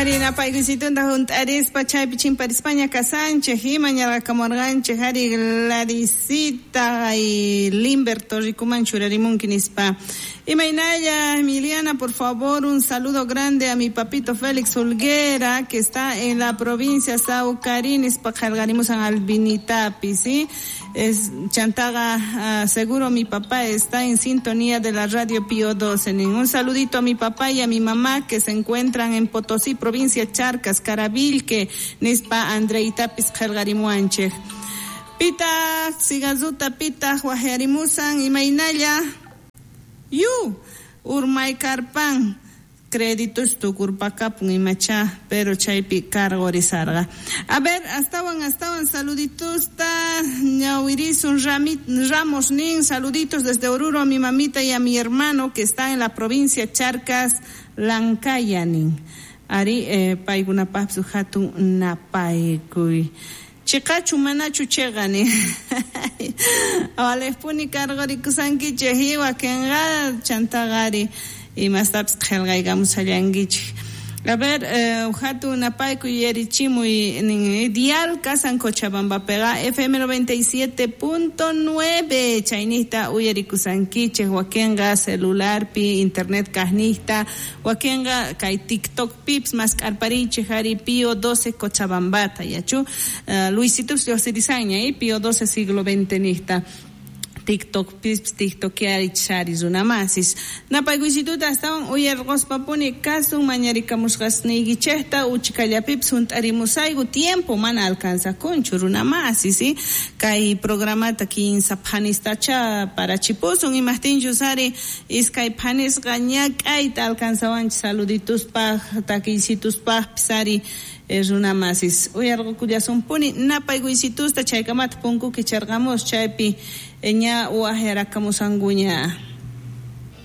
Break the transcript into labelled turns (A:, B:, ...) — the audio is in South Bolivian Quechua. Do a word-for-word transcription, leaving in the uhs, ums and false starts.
A: Ari napaykuysitunda hunt'arispa chaypi chimparispaña kasanchej ima ñarqakamurqanchej ari Gladysita ay Limberto rikuman churarimunki nispa. Imaynalla Emiliana, por favor, un saludo grande a mi papito Félix Hulguera, que está en la provincia Saucarí, nispa qillqarimusan Albinitapi, ¿sí? Es Chantaga, uh, seguro mi papá está en sintonía de la radio Pío doce. Un saludito a mi papá y a mi mamá que se encuentran en Potosí, provincia Charcas, Caravilque, nispa Andreitapis qillqarimuanchej. Pita, sigazuta pita, wajarimusan, imaynalla. Yu, urmay karpan, créditos tukurpakapun imacha, pero chaypi cargorizarga. A ver, astawan, astawan, saluditusta, ñawirisun Ramos nin, saluditos desde Oruro a mi mamita y a mi hermano que está en la provincia Charcas, Lancaya nin. Ari, eh, paykunapaqpis hatun napaykuy. Chiqachu manachu chiqani. Walejpuni cargorikusankichej wakenqa chantaqari imastapis qillqaykamusallankichej. A ver, eh, hatun napaykuy yarichimuy nin dial kasan Cochabambapiqa F M noventa y siete punto nueve chaynista uyarikusankichej wakenqa celularpi internet kajnista wakenqa kay TikTok pips mask'arparichej ari Pío doce Cochabambata yachu uh, Luisito lluqsirisanña eh, Pío doce siglo veinte nista TikTok pips TikTokiari runamasis napaykuysituta astawan uyarqospapuni kasun mañarikamusqasniykichejta uchikallapipis hunt'arimusayku tiempo mana alcanzakunchu runamasis ¿sí? Kay programata kinsa phanistacha parachipusun imajtinchus ari iskay phanisqa ñak'ayta alcanzawanchis saludituspaj takiysituspajpis ari runamasis uyarqukullasunpuni napaykuysitusta chaykamata punku kicharqamus chaypi ña wajyarakamusankuña.